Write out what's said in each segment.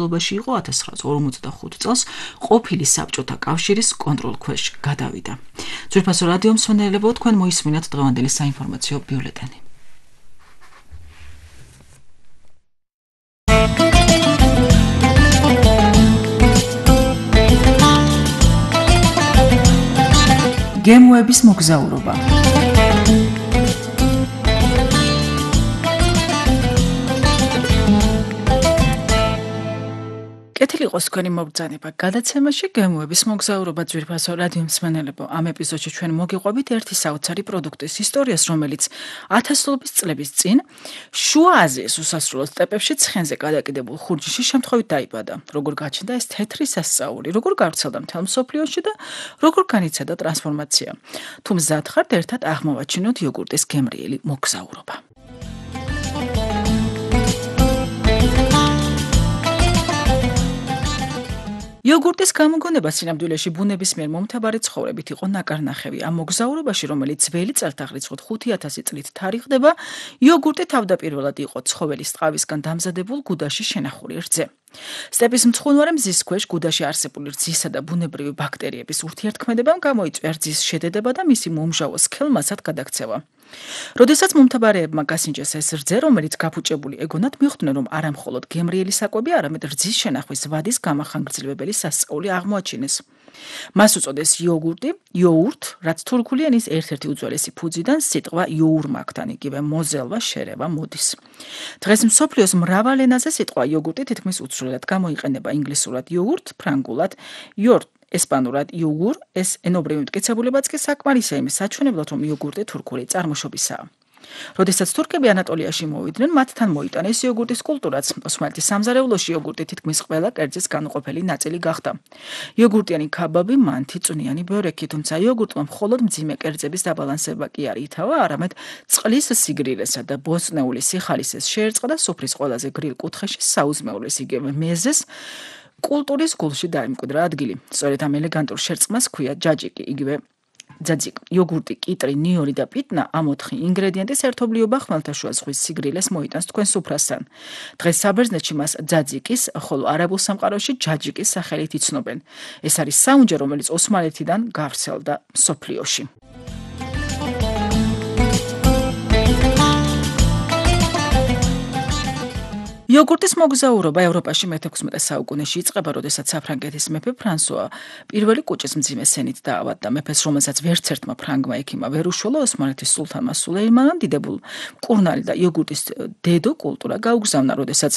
ობაში იყო 1945 წელს ყოფილი საბჭოთა კავშირის კონტროლქვეშ გადავიდა. ძვირფასო რადიო მსმენელებო, თქვენ მოისმინეთ დღევანდელი საინფორმაციო ბიულეტენი. გემოების მოგზაურობა. კეთილი იყოს თქვენი მობრძანება გადაცემაში გემოების მოგზაურობა ძვირფასო რადიო მსმენელებო. ამ ეპიზოდში ჩვენ მოგიყვებით ერთი საოცარი პროდუქტის ისტორიას, რომელიც ათასობით წლების წინ შუა აზიის უსასრულო სტეპებში ცხენზე გადაკიდებულ ხურჯში შემთხვევით დაიბადა. როგორ გაჩნდა ეს თეთრი სასწაული, როგორ გავრცელდა მთელ მსოფლიოში და როგორ განიცადა ტრანსფორმაცია. თუ მზად ხართ, ერთად აღმოვაჩინოთ იოგურტის გემრიელი მოგზაურობა. იოგურტის გამოგონება სინამდვილეში ბუნებისმიერ მომთაბარე ცხოვრებით იყო ნაკარნახევი. ამ მოგზაურობაში, რომელიც ძველი წელთაღრიცხვით 5000 წლით თარიღდება, იოგურტი თავდაპირველად იყო ცხოველის ტყავისგან დამზადებულ გუდაში შენახული რძე. სტეპის მცხუნვარე მზის ქვეშ გუდაში არსებული რძისა და ბუნებრივი ბაქტერიების ურთიერთქმედებამ გამოიწვია რძის შედედება და მისი მომჟავო სქელმასად გადაქცევა. როდესაც მომთაბარეებმა გასინჯეს ეს რძე, რომელიც გაფუჭებული ეგონათ, მიხვდნენ, რომ არა მხოლოდ გემრიელი საკვები, არამედ რძის შენახვის ვადის გამახანგრძლივებელი სასწაული აღმოაჩინეს. მას უწოდეს იოგურტი, იოურთ, რაც თურქული ენის ერთ-ერთი უძველესი ფუძიდან სიტყვა იოურმაკთან, იგივე მოზელვა, შერევა მოდის. დღეს მსოფლიოს მრავალ ენაზე სიტყვა იოგურტი თითქმის უცვლელად გამოიყენება ინგლისურად იოგურტ, ფრანგულად იორტ, ესპანურად იოგურ, ეს ენობრივი მტკიცებულებაც კი საკმარისია იმის საჩვენებლად, რომ იოგურტი თურქული წარმოშობისაა. როდესაც თურქები ანატოლიაში მოვიდნენ, მათთან მოიტანეს იოგურტის კულტურაც. ოსმალეთის სამზარეულოში იოგურტი თითქმის ყველა კერძის განუყოფელი ნაწილი გახდა. იოგურტიანი ქაბაბი, მანთი, წვნიანი ბიორექი, თუმცა იოგურტმა მხოლოდ მძიმე კერძების დაბალანსება კი არ ითავა, არამედ წყლის სიგრილესა და ბოსტნეული სიხალისეს შეერწყა და სუფრის ყველაზე გრილ კუთხეში საუზმეულის იგივე მეზეს კულტურის გულში დაიმკვიდრა ადგილი. სწორედ ამ ელეგანტურ შერწყმას ჰქვია ჯაჯიკი, იგივე ძაძიკ. იოგურტი, კიტრი, ნიორი და პიტნა ამ 4 ინგრედიენტის ერთობლიობა ხმელთაშუა ზღვის სიგრილეს მოიტანს თქვენ სუფრასთან. დღეს საბერძნეთში მას ძაძიკის, ხოლო არაბულ სამყაროში ჯაჯიკის სახელით იცნობენ. ეს არის საუნჯე, რომელიც ოსმალეთიდან გავრცელდა მსოფლიოში. იოგურტის მოგზაურობა ევროპაში მე-16 საუკუნეში იწყება, როდესაც საფრანგეთის მეფე ფრანსუა პირველი კუჭის მძიმე სენით დაავადდა. მეფეს, რომელსაც ვერც ერთმა ფრანგმა ექიმმა ვერ უშველა, ოსმალეთის სულთანმა სულეიმანამ დიდებულ მკურნალი და იოგურტის დედო კულტურა გაუგზავნა, როდესაც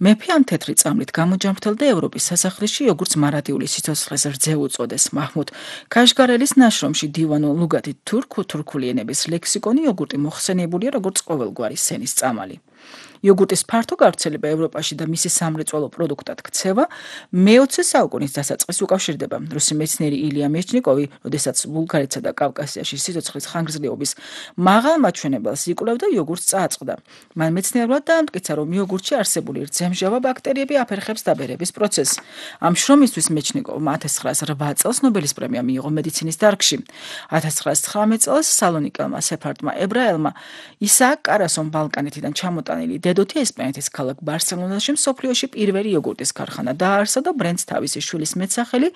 მეფე ამ თეთრი წამლით გამოჯამრთელდა ევროპის სასახლეში იოგურტს მარადიული სიცოცხლის რძე უწოდეს. მაჰმუდ ქაშგარელის ნაშრომში დივანუ ლუგათი თურქული ენების ლექსიკონი იოგურტი მოხსენიებულია როგორც ყოველგვარი სენის წამალი. იოგურტის ფართო გავრცელება ევროპაში და მისი სამრეწველო პროდუქტად ქცევა მე-20 საუკუნის დასაწყისს უკავშირდება. რუსი მეცნიერი ილია მეჩნიკოვი, როდესაც ბულგარეთსა და კავკასიაში სიცოცხლის ხანგრძლივობის მაღალ მაჩვენებელს იკვლევდა, იოგურტს წააწყდა. მან მეცნიერულად დაამტკიცა, რომ იოგურტში არსებული რძემჟავა ბაქტერიები აფერხებს დაბერების პროცესს. ამ შრომისთვის მეჩნიკოვმა 1908 წელს ნობელის პრემია მიიღო მედიცინის დარგში. 1919 წელს სალონიკელმა სეფარდმა ებრაელმა ისააკ კარასომ ბალკანეთიდან ჩამოტანილი დედოთი ესპანეთის ქალაქ ბარსელონაში მსოფლიოში პირველი იოგურტის ქარხანა დააარსა და ბრენდს თავისი შვილის მეტსახელი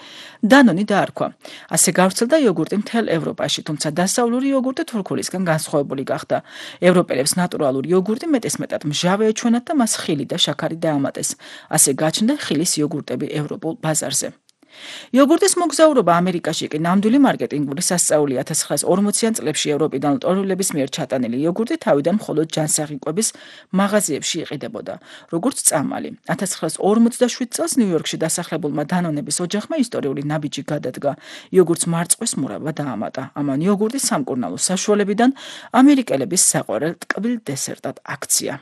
დანონი დაარქვა. ასე გავრცელდა იოგურტი მთელ ევროპაში, თუმცა დასავლური იოგურტი თურქულისგან განსხვავებული გახდა. ევროპელებს ნატურალური იოგურტი მეტესმეტად მჟავე ეჩვენათ და მას ხილი და შაქარი დაამატეს. ასე გაჩნდა ხილის იოგურტები ევროპულ ბაზარზე. იოგურტის მოგზაურობა ამერიკაში კი ნამდვილი მარკეტინგული სასწაულია. 1940-იან წლებში ევროპიდან ლტოლვილების მიერ ჩატანილი იოგურტი თავიდან მხოლოდ ჯანსაღი-კვების მაღაზიებში იყიდებოდა, როგორც წამალი. 1947 წელს ნიუ-იორკში დასახლებულმა დანონების ოჯახმა ისტორიული ნაბიჯი გადადგა. იოგურტს მარწყვის მურავა დაამატა. ამან იოგურტის სამკურნალო საშუალებიდან ამერიკელების საყვარელ ტკბილ დესერტად აქცია.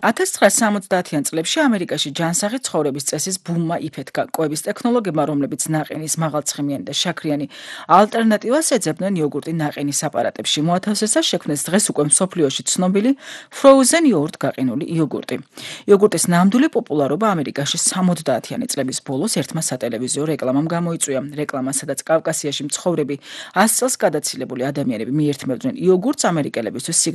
1970-იან წლებში ამერიკაში ჯანსაღი ცხოვრების წესის ბუმმა იფეთქა. კვების ტექნოლოგიებმა, რომლებიც ნაყინის მაღალცხიმიანი და შაქრიანი ალტერნატივას ეძებდნენ იოგურტი ნაყინის აპარატებში, მოათავსეს შექმნეს დღეს უკვე მსოფლიოში ცნობილი Frozen Yogurt გაყინული იოგურტი. იოგურტის ნამდვილი პოპულარობა ამერიკაში 70-იანი წლების ბოლოს ერთმა სატელევიზიო რეკლამამ გამოიწვია. რეკლამა, სადაც კავკასიაში მცხოვრები 100 წელს გადაცილებული ადამიანები მიერთმევდნენ იოგურტს ამერიკელებისთვის